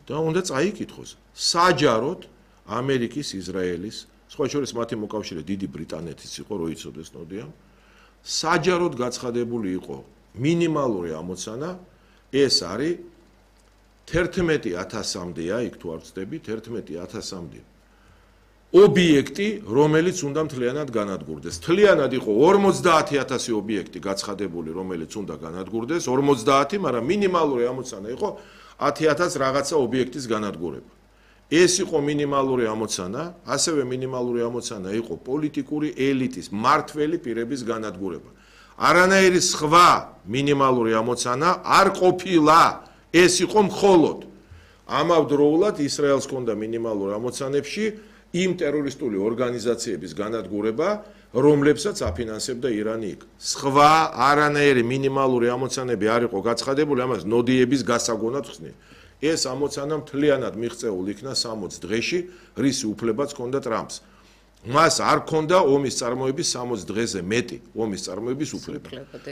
და უნდა წაიკითხოს. საჯაროდ ამერიკის, ისრაელის, სხვა შორის მათი მოკავშირე დიდი ბრიტანეთის იყო, რო იცოდეს ნოდია. საჯაროდ გაცხადებული იყო მინიმალური ამოცანა, ეს არის 11,000-მდეა, იქ თუ არ ვცდები, 11,000-მდე. ობიექტი, რომელიც უნდა მთლიანად განადგურდეს. მთლიანად იყო 50,000 ობიექტი გაცხადებული, რომელიც უნდა განადგურდეს, 50, მაგრამ მინიმალური ამოცანა იყო 10,000 რაღაცა ობიექტის განადგურება. ეს იყო მინიმალური ამოცანა, ასევე მინიმალური ამოცანა იყო პოლიტიკური ელიტის, მართველი პირების განადგურება. არანაირი სხვა მინიმალური ამოცანა არ ყოფილა. ეს იყო მხოლოდ ამავდროულად ისრაელს ჰქონდა მინიმალურ ამოცანებში იმ ტერორისტული ორგანიზაციების განადგურება, რომლებსაც აფინანსებდა ირანი იქ. სხვა არანაირი მინიმალური ამოცანები არ იყო გაცხადებული, ამას ნოდიების გასაგონად ხსნი. ეს ამოცანა მთლიანად მიღწეულ იქნა 60 დღეში, რისი უფლებაც ჰქონდა ტრამპს. მას არ ჰქონდა ომის წარმოების 60 დღეზე მეტი ომის წარმოების უფლება.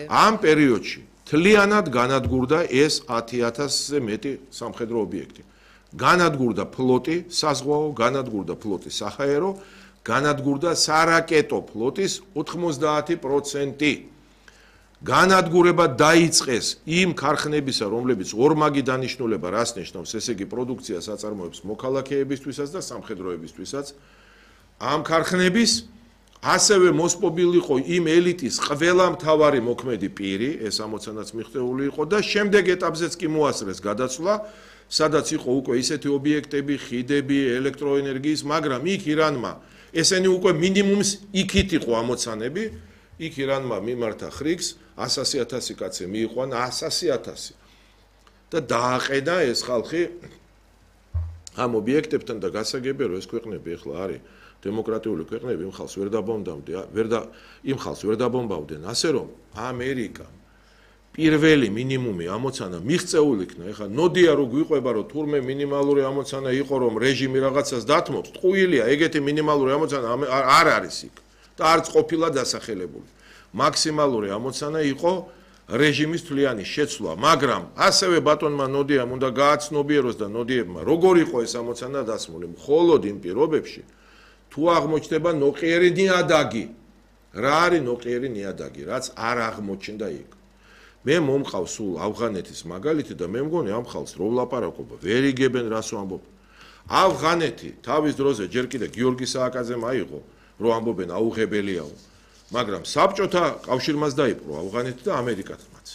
ამ პერიოდში მთლიანად განადგურდა ეს 10,000-ზე მეტი სამხედრო ობიექტი. განადგურდა ფლოტი საზღვაო, განადგურდა ფლოტი საჰაერო, განადგურდა სარაკეტო ფლოტის 90%. განადგურება დაიწყეს იმ ქარხნებისა, რომლებიც ორმაგი დანიშნულება რას ნიშნავს, ესე იგი პროდუქციას აწარმოებს მოქალაქეებისთვისაც და სამხედროებისთვისაც. ამ ქარხნების ასევე მოსპობილი იყო იმ ელიტის ყველა მთავარი მოქმედი პირი, ეს ამოცანაც მიღწეული იყო და შემდეგ ეტაპზეც კი მოასწრეს გადაცვლა, სადაც იყო უკვე ისეთი ობიექტები, ხიდები, ელექტროენერგიის, მაგრამ იქ ირანმა ესენი უკვე მინიმუმს იქით იყო ამოცანები, იქ ირანმა მიმართა ხრიგს 100,000 კაცი მიიყვანა 100,000 და დააყენა ეს ხალხი ამ ობიექტებთან და გასაგებია რომ ეს ქვეყნები ახლა არის დემოკრატიული ქვეყნები იმ ხალხს ვერ დაბომბავდნენ, ასე რომ ამერიკა პირველი მინიმუმი ამოცანა მიღწეულ იქნა. ეხლა ნოდია რო გვიყვება რომ თურმე მინიმალური ამოცანა იყო რომ რეჟიმი რაღაცას დათმობს, ტყუილია, ეგეთი მინიმალური ამოცანა არ არის იქ და არც ყოფილა დასახელებული. მაქსიმალური ამოცანა იყო რეჟიმის თვლიანი შეცვლა, მაგრამ ასევე ბატონმა ნოდიამ უნდა გააცნობიეროს და ნოდიებმა როგორ იყო ეს ამოცანა დასმული, მხოლოდ იმ პირობებში თუ აღმოჩნდება ნოყიერი ნიადაგი. რა არის ნოყიერი ნიადაგი, რაც არ აღმოჩნდა იქ. მე მომყავს სულ ავღანეთის მაგალითი და მე მგონი ამ ხალხს რო ვლაპარაკობა, ვერ იგებენ რას ვამბობ. ავღანეთი თავის დროზე ჯერ კიდე გიორგი სააკაძემ აიღო, რომ ამბობენ აუღებელიაო. მაგრამ საბჭოთა კავშირმაც დაიპყრო ავღანეთი და ამერიკათმაც.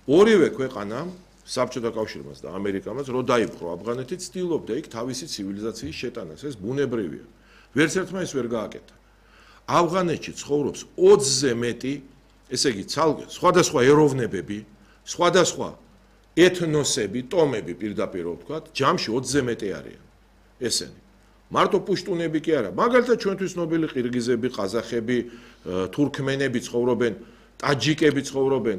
ორივე ქვეყანამ, საბჭოთა კავშირმაც და ამერიკამაც, რო დაიპყრო ავღანეთი, ცდილობდა იქ თავისი ცივილიზაციის შეტანას. ეს ბუნებრივია. ვერც ერთმა ის ვერ გააკეთა. ავღანეთში ცხოვრობს 20-ზე მეტი, ესე იგი, სხვადასხვა ეროვნებები, სხვადასხვა ეთნოსები, ტომები პირდაპირ ვთქვათ, ჯამში 20-ზე მეტი არიან. ესენი. მარტო პუშტუნები კი არა, მაგალითად ჩვენთვის ნობილი ყირგიზები, ყაზახები, თურქმენები ცხოვრობენ, ტაჯიკები ცხოვრობენ,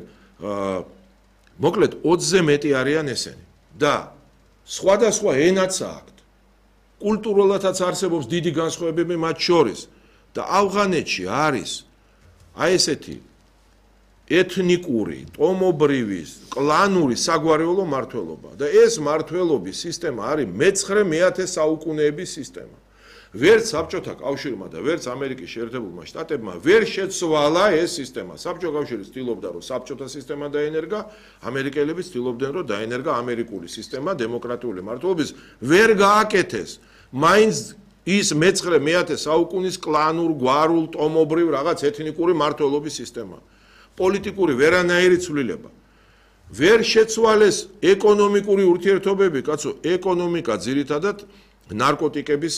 მოკლედ 20-ზე მეტი არიან ესენი. და სხვადასხვა ენაც აქვთ. კულტურულადაც არსებობს დიდი განსხვავებები მათ შორის და ავღანეთში არის აი ესეთი ეთნიკური, ტომობრივი, კლანური საგვარეულო მართლობა და ეს მართლობის სისტემა არის მე-9 საუკუნეების სისტემა. ვერც საბჭოთა კავშირმა და ვერც ამერიკის შეერთებულმა შტატებმა ვერ შეცვალა ეს სისტემა. საბჭოთა კავშირი ცდილობდა რომ საბჭოთა სისტემა დაენერგა, ამერიკელები ცდილობდნენ რომ დაენერგა ამერიკული სისტემა დემოკრატიული მართლობის, ვერ გააკეთეს. მაინც ის მე-9 საუკუნის კლანურ, გვარულ, ტომობრივ რაღაც ეთნიკური მართლობის სისტემა. პოლიტიკური ვერანაირი ცვლილება. ვერ შეცვალეს ეკონომიკური ურთიერთობები, კაცო, ეკონომიკა ძირითადად ნარკოტიკების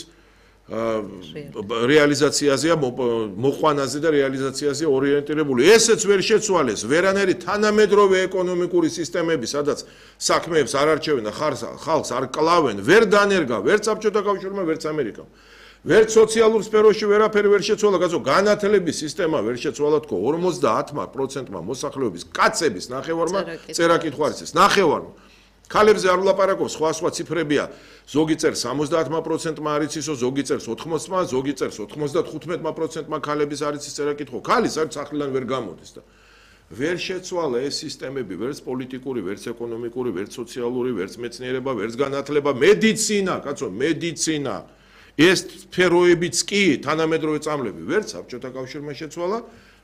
რეალიზაციაზეა, მოყვანაზე და რეალიზაციაზეა ორიენტირებული. ესეც ვერ შეცვალეს, ვერანაირი თანამედროვე ეკონომიკური სისტემები, სადაც საქმეებს არ არჩევენ და ხალხს არ კლავენ, ვერ დანერგა, ვერც საბჭოთა კავშირმა, ვერც ამერიკამ. ვერც სოციალურ სფეროში ვერაფერი ვერ შეცვალა, კაცო, განათლების სისტემა ვერ შეცვალა თქო 50%-მა მოსახლეობის კაცების ნახევარმა წერა-კითხვა არ იცის, ნახევარმა. ქალებზე არ ვლაპარაკობ, სხვა ციფრებია. ზოგი წერს 70%-მა არ იცისო, ზოგი წერს 80%-მა, ზოგი წერს 95%-მა ქალების არ იცის წერა-კითხვა. ქალი საერთოდ სახლიდან ვერ გამოდის და ვერ შეცვალა ეს სისტემები, ვერც პოლიტიკური, ვერც ეკონომიკური, ვერც სოციალური, ვერც მეცნიერება, ვერც განათლება, მედიცინა, კაცო, მედიცინა. ეს სფეროებიც კი თანამედროვე წამლები ვერც საბჭოთა კავშირმა შეცვალა,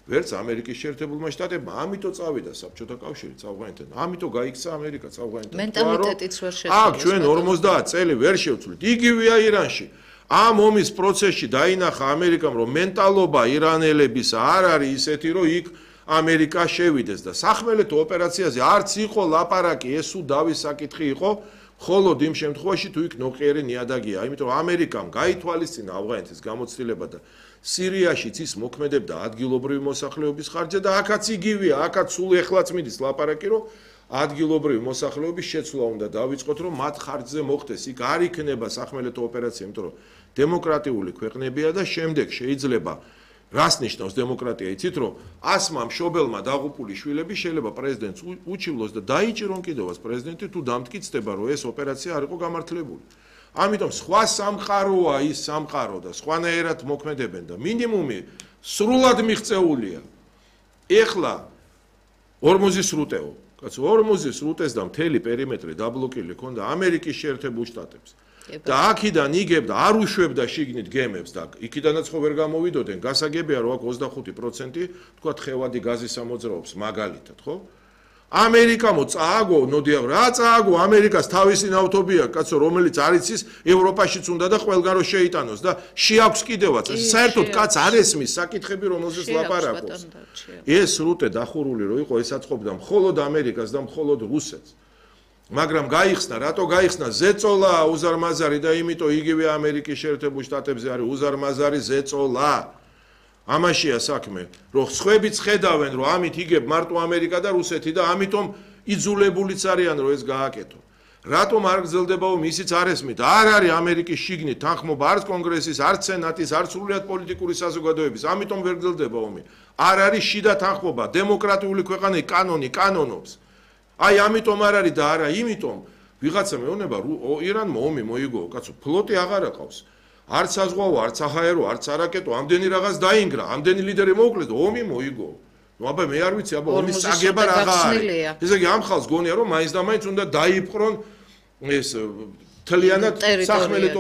ვერც ამერიკის შეერთებულმა შტატებმა. ამიტომ წავიდა საბჭოთა კავშირი წავღანეთთან. ამიტომ გაიქცა ამერიკა წავღანეთთან. მენტალიტეტიც ვერ შეცვალა. აქ ჩვენ 50 წელი ვერ შევცვლით. იგივეა ირანში. ამ ომის პროცესში დაინახა ამერიკამ, რომ მენტალობა ირანელების არ არის ისეთი, რომ იქ ამერიკა შევიდეს და სახმელეთო ოპერაციაზე არც იყო ლაპარაკი, ეს უდავის საკითხი იყო, მხოლოდ იმ შემთხვევაში თუ იქ ნოყიერი ნიადაგია. იმიტომ რომ ამერიკამ გაითვალისწინა ავღანეთის გამოცდილება და სირიაშიც ის მოქმედებდა ადგილობრივი მოსახლეობის ხარჯზე და აქაც იგივეა, აქაც სულ ეხლაც მიდის ლაპარაკი, რომ ადგილობრივი მოსახლეობის შეცვლა უნდა დავიწყოთ, რომ მათ ხარჯზე მოხდეს. იქ არ იქნება სახმელეთო ოპერაცია, იმიტომ რომ დემოკრატიული ქვეყნებია და შემდეგ შეიძლება რას ნიშნავს დემოკრატია, იცით რომ 100 მშობელმა დაღუპული შვილები შეიძლება პრეზიდენტს უჩივლოს და დაიჭირონ კიდევაც პრეზიდენტი თუ დამტკიცდება რომ ეს ოპერაცია არ იყო გამართლებული. ამიტომ სხვა სამყაროა ის სამყარო და სხვანაირად მოქმედებენ და მინიმუმი სრულად მიღწეულია. ეხლა ორმოზის სრუტეო, კაცო, ორმოზის სრუტეს და მთელი პერიმეტრი დაბლოკილი ქონდა ამერიკის შეერთებულ შტატებს. და აქიდან იგებდა, არ უშვებდა შიგნით გემებს და იქიდანაც ხო ვერ გამოვიდოდნენ. გასაგებია რომ აქ 25% თქვა თხევადი გაზის ამოძრაობს მაგალითად, ხო? ამერიკამო წააგო, ნოდია რა წააგო, ამერიკას თავისი ნავთობი აქვს, კაცო, რომელიც არ იცის ევროპაშიც უნდა და ყველგან რო შეიტანოს და შეაქვს კიდევაც. საერთოდ კაც არ ესმის საკითხები, რომელზეც ლაპარაკობს. ეს სრუტე დახურული რო იყო, ესაც ყოფდა მხოლოდ ამერიკას და მხოლოდ რუსეთს. მაგრამ გაიხსნა, რატო გაიხსნა ზეწოლა უზარმაზარი და იმიტომ იგივე ამერიკის შეერთებულ შტატებზე არის უზარმაზარი ზეწოლა. ამაშია საქმე, რომ სხვებიც ხედავენ, რომ ამით იგებ მარტო ამერიკა და რუსეთი და ამიტომ იძულებულიც არიან, რომ ეს გააკეთო. რატომ არ გრძელდება ომი, ისიც არ ესმით. არ არის ამერიკის შიგნით თანხმობა არც კონგრესის, არც სენატის, არც სრულიად პოლიტიკური საზოგადოების, ამიტომ ვერ გრძელდება ომი. არ არის შიდა თანხმობა, დემოკრატიული ქვეყანები კანონი კანონობს. აი ამიტომ არ არის და არა იმიტომ ვიღაცა მეუბნება ირანმა ომი მოიგო, კაცო, ფლოტი აღარ აყავს. არც საზღვაო, არც საჰაერო, არც არაკეტო, ამდენი რაღაც დაინგრა, ამდენი ლიდერი მოუკლეს და ომი მოიგო. ნუ აბა მე არ ვიცი, აბა ომის წაგება რაღა არის. ესე იგი ამ ხალხს გონია რომ მაინც და მაინც უნდა დაიპყრონ ეს თლიანად სახმელეთო